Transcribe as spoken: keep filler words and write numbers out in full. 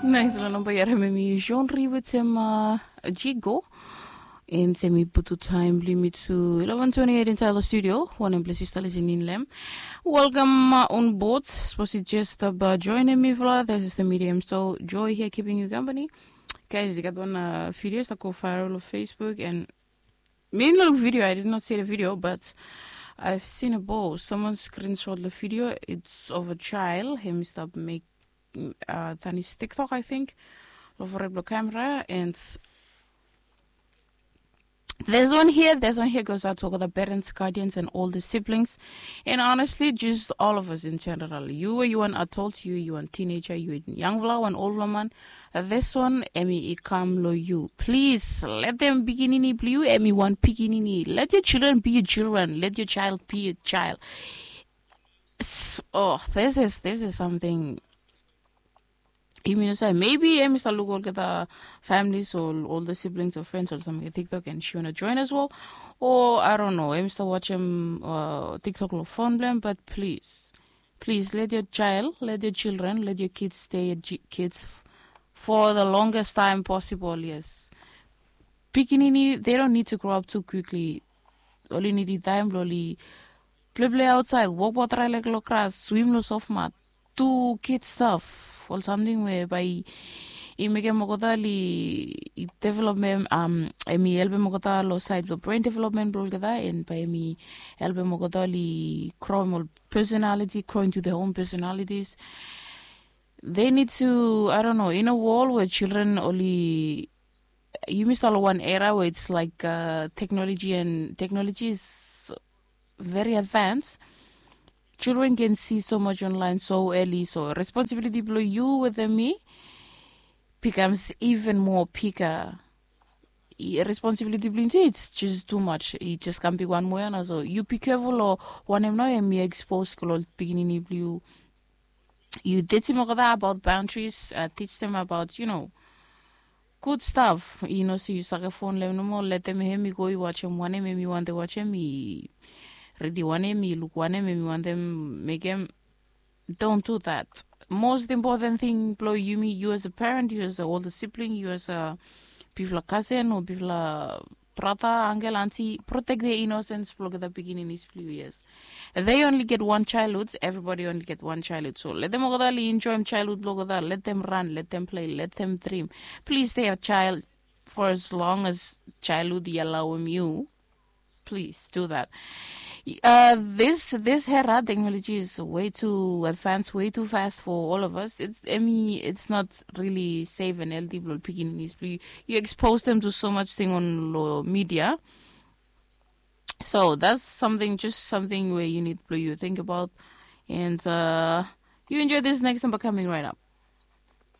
Nais long namba i harim em i Jean Ri wetem Jigo. And em i putu taem blong yumi tu eleven twenty-eight inside the studio. Wanem ples yu stap listening long em. Welcome uh, on board. Suppose you just uh, join me for this is the medium. So Joy here keeping you company. Guys, i gat wan uh, video stap go viral on Facebook and mi no look video. I did not see the video, but I've seen a ball. Someone screenshot the video. It's of a child. Him stop make uh, than his TikTok, I think. Lo fore blo camera and there's one here, there's one here goes out to all the parents, guardians, and all the siblings. And honestly, just all of us in general. You were you an adult, you you an teenager, you young vla, an old woman. This one, Emmy, i kam lo you. Please let them pikinini blue you, Emmy one pikinini. Let your children be your children. Let your child be your child. Oh, this is this is something Maybe em i stap luk olgeta families o older siblings o friends o samting long TikTok and she wanna join as well. Or I don't know, em i stap watch em uh, TikTok lo phone blem, but please, please let your child, let your children, let your kids stay at kids for the longest time possible. Yes, pikinini, they don't need to grow up too quickly. Oli nidi taem blong oli pleple aotsaed, wokbaot raelek long gras, swim long sofmat, du kid staf, ol samting we bae i mekem olgeta oli development, em i helpem olgeta long saed blong brain development blong olgeta, and bae em i helpem olgeta oli growem ol personality, growing to their own personalities. They need to, I don't know, in a world where children oli yumi stap long wan era where it's like uh, technology and technology is very advanced. Children can see so much online so early, so responsibility blong you wetem mi becomes even more bigger. Responsibility blong yu tu, it's just too much. I just kam bigwan moa ia na, so yu be careful o wanem nao em i expose long ol pikinini blong yu. Yu teachim olgeta about boundaries, uh, teach them about, you know, good stuff. I no se yu sake fon long em nomo, letem hem i go i wajem wanem hem i wantem wajem, i ridi wanem, i luk wanem hem i wantem mekem. Don't do that. Most important thing blong yumi, you as a parent, you as a older sibling, you as a bifala kasen o bifala brata, angel, anti, protect the innocence blong olgeta pikininis blong yu. Yes, they only get one childhood. Everybody only get one childhood, so let them olgeta oli enjoyim childhood blong olgeta. Let them run, let them play, let them dream. Please stay a child for as long as childhood i alawim yu. Please do that. Uh, this this hera technology is way too advanced, way too fast for all of us. It's, I mean, it's not really safe and healthy blong pikininis blong yu. You expose them to so much thing on lo media. So that's something, just something where you need blong yu think about. And uh, you enjoy this next number coming right up.